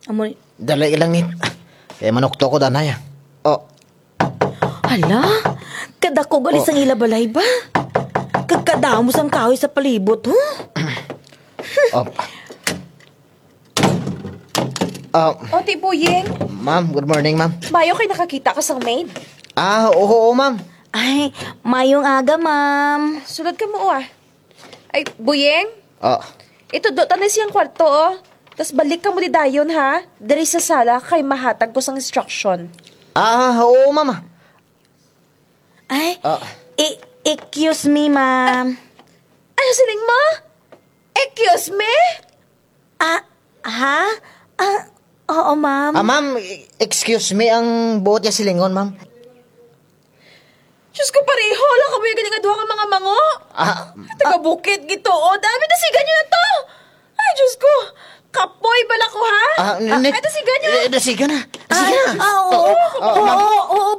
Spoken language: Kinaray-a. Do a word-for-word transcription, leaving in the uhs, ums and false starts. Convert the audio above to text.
Amo ni. Dali lang ni. Kay manuktok ko danay, ah. O. Hala, kadako gali sang ila balay ba? Kag kadamo sang kahoy sa palibot, ho? O. Ah, O, Ti Buying. Ma'am, good morning, ma'am. Mayo kay nakakita ka sang maid. Ah, oo, oo, ma'am. Ay, mayong aga, ma'am. Sulod kamo, ah. Ay, Buying. Ah. Itudlo ta na siyang kwarto, o. Tas balik kamo di dayon, ha? Diri sa sala kay mahatag ko sang instruction. Ah, oo, ma'am. Ay, Ah. e-, excuse me, ma'am. Ano siling mo? Excuse me? Ah, ha? Ah, oo, ma'am. Ah, ma'am, e-, excuse me, ang buot nga silingon, ma'am. Diyos ko, pareho lang kamo gali nga duha nga mga mango. Ah, Taga bukid gid to, o. Dami, dasigan nyo na to. Ay, Diyos ko. Kapoy bala ko, ha? Ah, n-, n-, Ay, dasigan nyo. Eh, dasigan na. Dasigan na. Ah, oo. Oo, oo, oo, ma'am. Oo, oo,